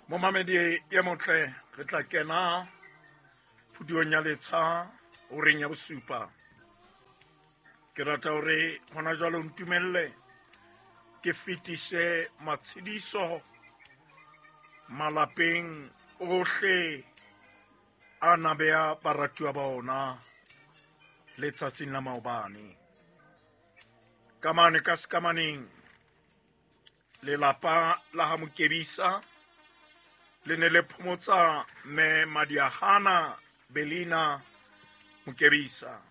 Momamedi ye motle, re tla kena phuduong ya letsha horeng ya bosupa. Ke rata hore hona jwale o ntumelle ke fetise matshediso malapeng ohle a na beya baratuwa ba ona letsatsing la maobane. Ka mane ka sekamaneng, lelapa la ha Mokebisa le ne le phomotsa mme Madiahana Belina Mokebisa.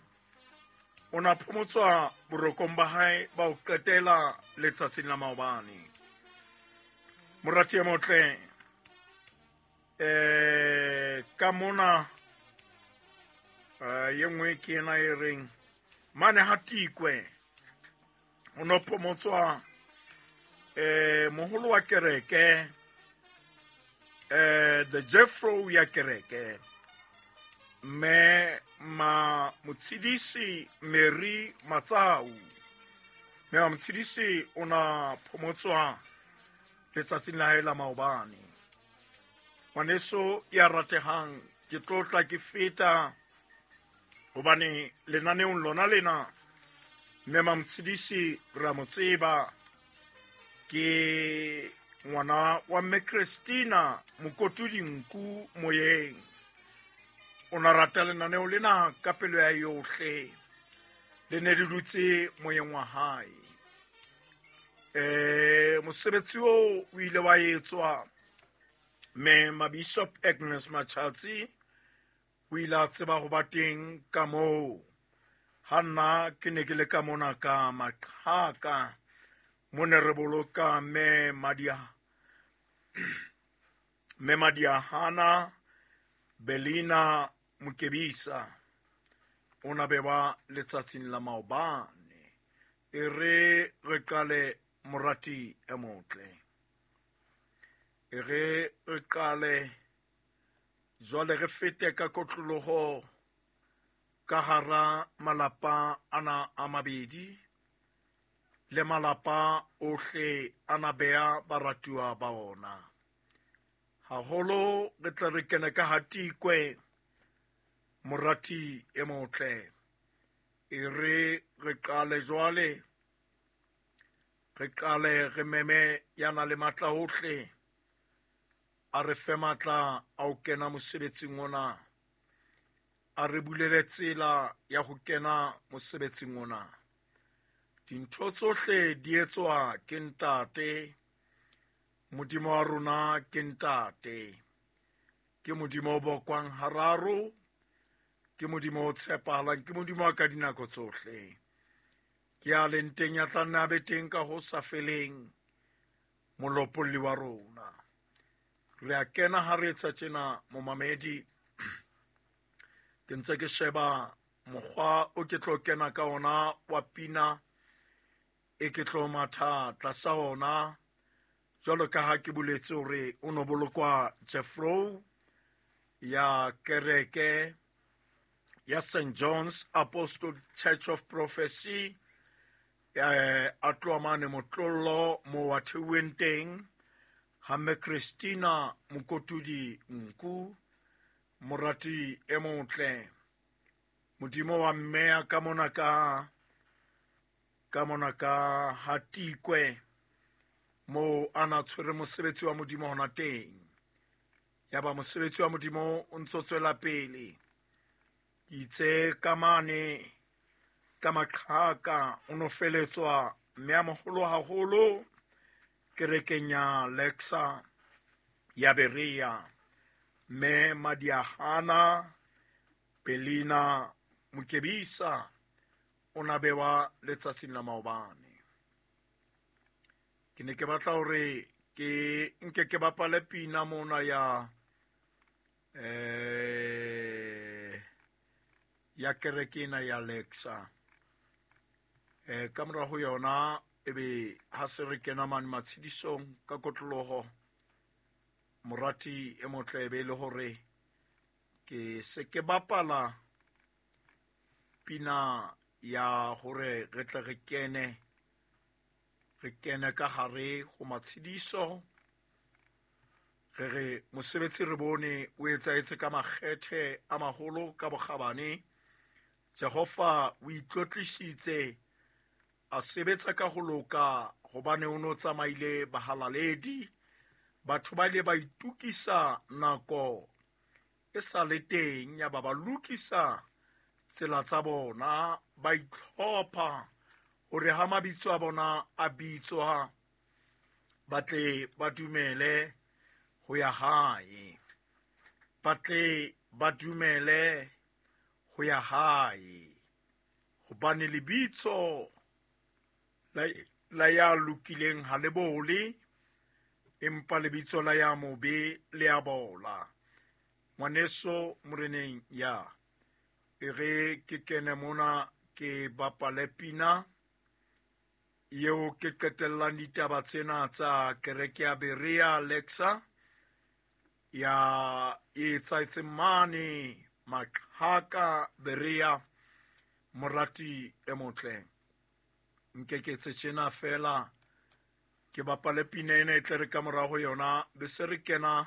O na phomotswa borokong ba hae ba ho qetela letsatsing la maobane. Morati e motle, ka mona ye nngwe ke ena e reng mane ha Tikwe o no phomotswa moholo wa kereke, the Jeffro ya kereke, mme ma Motshidisi Mary Matsau. Mme ma Motshidisi o na phomotswa letsatsing la hae la maobane. Ngwaneso ya ratehang, ke tlotla ke feta hobane lenaneong lona lena mme ma Motshidisi re a mo tseba, ke ngwana wa mme Christina Mokotudi Nku moyeng. O na rata lenaneo lena ka pelo ya yohle, le ne le dutse moyeng wa hae. Mosebetsi oo o ile wa etswa mme Mabishop Agnes Machatsi o ile a tseba ho ba teng ka moo. Ha nna ke ne ke le ka mona ka maqhaka, mo ne re boloka mme Madia, mme Madiahana Belina Mokebisa. O na bewa letsatsing la maobane. E re re qale morati e motle. E re re qale jwale re fete ka kotloloho ka hara malapa ana a mabedi le malapa ohle a na beya baratuwa ba ona. Haholo re tle re kene ka hatikwe morati e motle. E re re qale jwale, re qale re meme ya na le matla ohle, a re fe matla a ho kena mosebetsing ona, a re bulele tsela ya ho kena mosebetsing ona. Dintho tsohle di etswa ke Ntate. Modimo wa rona ke Ntate. Ke Modimo o bokwang hararo, ke Modimo o tshepahalang, ke Modimo wa ka dinako tsohle. Ke a leng teng ya tla nna a be teng ka ho sa feleng, molopolli wa rona. Re a kena ha re etsa tjena, momamedi. Ke ntse ke sheba mokgwa o ke tlo kena ka ona wa pina e ke tlo matha tlasa ona, jwalo ka ha ke boletse hore o no bolokwa Jeffro ya kereke ya St John's Apostolic Church of Prophecy, a tloha mane Motlollo mo wa theuweng teng, ha mme Christina Mokotudi Nku, morati e motle. Modimo wa mmeya ka mona ka, ka mona ka Hatikwe, mo a na tshwere mosebetsi wa Modimo hona teng. Ya ba mosebetsi wa Modimo o ntso tswela pele. Ke itse ka mane ka maqhaka o no feletswa mme a moholo haholo kerekeng ya Lexa ya Berea, mme Madiahana Belina Mokebisa o na bewa letsatsing la maobane. Ke ne ke batla hore ke nke ke bapale pina mona ya ya kereke ena ya Lexa. Ka mora ho yona ebe ha se re kena mane matshedisong ka kotloloho, morati e motle ebe e le hore ke se ke bapala pina ya hore re tle re kene, re kene ka hare ho matshediso, Re re mosebetsi re bone o etsahetse ka makgethe a maholo ka bokgabane. Jehova o itlotlisitse a sebetsa ka ho loka hobane o no tsamaile bahalaledi. Batho ba ile ba itukisa nako e sa le teng, ya ba ba lokisa tsela tsa bona, ba itlhopha hore ha mabitso a bona a bitswa ba tle ba dumele ho ya hae, ba tle ba dumele ho ya hae, hobane lebitso la ya lokileng ha le bole, empa lebitso la ya mobe le a bola. Ngwaneso moreneng ya e re ke kene mona ke bapale pina eo ke qetellang ditaba tsena tsa kereke ya Berea Lexa ya e etsahetseng mane Maqhaka Berea. Morati e motle, nke ke etse tjena fela, ke bapale pina ena e tle re ka morao ho yona be se re kena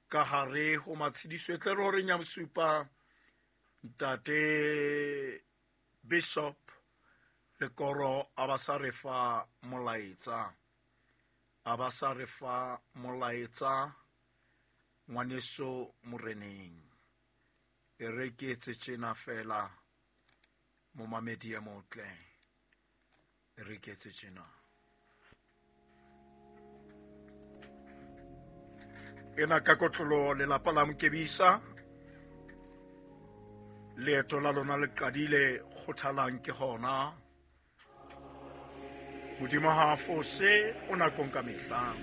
ka hare ho matshediso e tle re horeng ya bosupa. Ntate Bishop Lekoro a ba sa re fa molaetsa, a ba sa re fa molaetsa ngwaneso moreneng. E re ke etse tjena fela, momamedi e motle, e re ke etse tjena. Ena ka kotlolo lelapa la Mokebisa, leeto la lona le qadile, kgothalang ke hona. Modimo ha a fose, o nakong ka mehla.